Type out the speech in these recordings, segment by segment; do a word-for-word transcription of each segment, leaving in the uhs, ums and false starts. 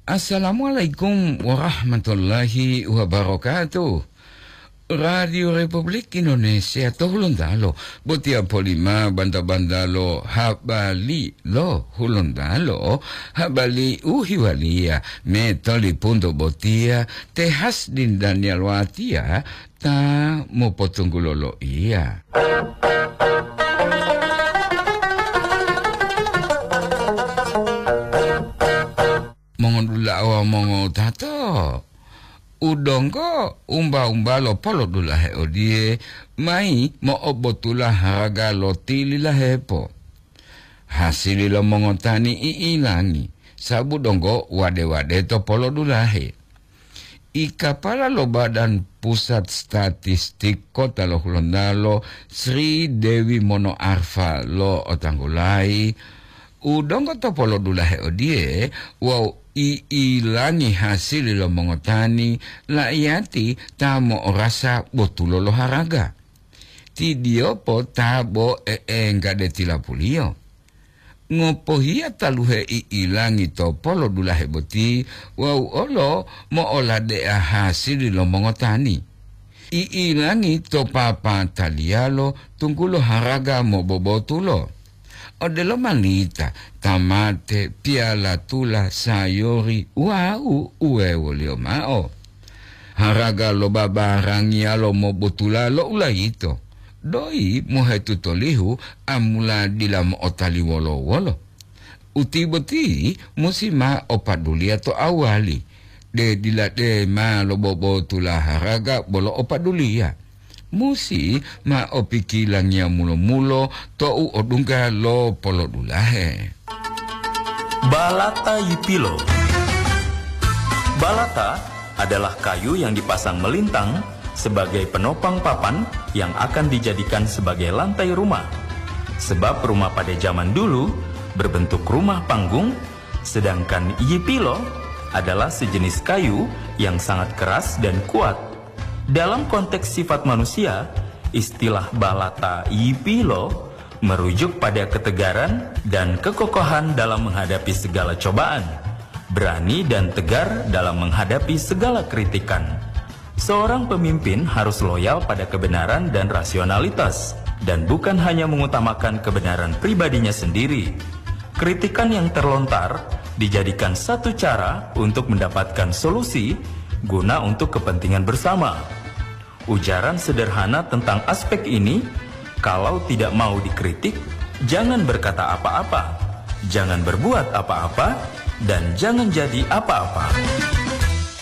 Assalamualaikum warahmatullahi wabarakatuh. Radio Republik Indonesia to Hulontalo, botiya polima banta-bantalo habari lo Hulontalo, habari u hiwaliya me tolipunto botiya te Hasdin Daniel Watiya ta mopotunggulo loiya. Mongodula'a wawu mongowutato, u donggo umba-umba lo polodulahe odiye mayi mo'obotula haraga lo tililahepo. Hasili lo mongotani i'ilangi, sabu donggo wade-wade to polodulahe. I kapala lo Badan Pusat Statistik Kota lo Hulontalo, Sri Dewi Mono Arfa lo otanggulayi, u donggo to polodulahe odiye wawu i'ilangi hasili lo mongotani la'iyati ta mo'orasa botulo lo haraga. Ti diyopo ta bo e'engga de tilapuliyo. Ngopohiya taluhe i'ilangi to polodulahe boti wawu olo mo'olade'a hasili lo mongotani. I'ilangi to papataliyalo tunggulo haraga mobobotulo. Odelo malita, tamate, piyalatula, sayori, wawu uwewoliyo mao. Haraga lo babarangiyalo mobotula lo ulayito, doyi mohetutolihu amula dila mo'otali wolo-wolo. Uti boti musi ma opaduliya to awali, de dila de ma lobobotula haraga bolo opaduliya. Musi ma opikilangiya mulo-mulo to'u odungga lo polodulahe. Balata yipilo. Balata adalah kayu yang dipasang melintang sebagai penopang papan yang akan dijadikan sebagai lantai rumah. Sebab rumah pada zaman dulu berbentuk rumah panggung, sedangkan yipilo adalah sejenis kayu yang sangat keras dan kuat. Dalam konteks sifat manusia, istilah balata yipilo merujuk pada ketegaran dan kekokohan dalam menghadapi segala cobaan, berani dan tegar dalam menghadapi segala kritikan. Seorang pemimpin harus loyal pada kebenaran dan rasionalitas, dan bukan hanya mengutamakan kebenaran pribadinya sendiri. Kritikan yang terlontar dijadikan satu cara untuk mendapatkan solusi guna untuk kepentingan bersama. Ujaran sederhana tentang aspek ini, kalau tidak mau dikritik, jangan berkata apa-apa, jangan berbuat apa-apa, dan jangan jadi apa-apa.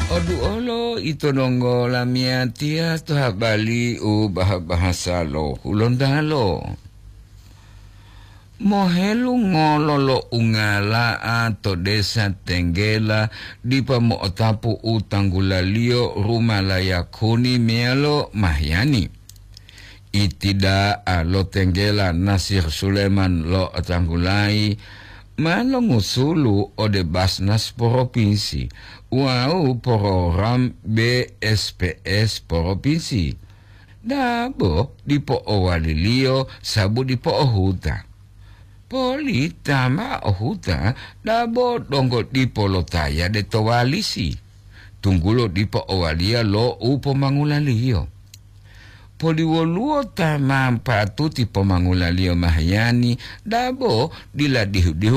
Odu olo ito donggo lamiyatiya to habari u bah-, bahasa lo Hulontalo. Mohelungolo lo ungala'a to desa Tenggela dipa mo'otapu u tanggulaliyo rumalaya kuni meyalo mahiyani. Itida'a lo Tenggela Nasir Suleman lo tanggulayi ma longusulu ode Basnas Poropinsi wawu program B S P S Poropinsi. Dabo dipo owaliliyo sabu dipo ohuta. Poli ta ma ohuta dabo donggo dipo lotaya de to walisi, tunggulo dipo owaliya lo u pomangulaliyo. Poli woluwo ta ma patuti pomangulaliyo mahiyani dabo dila dihu-dihu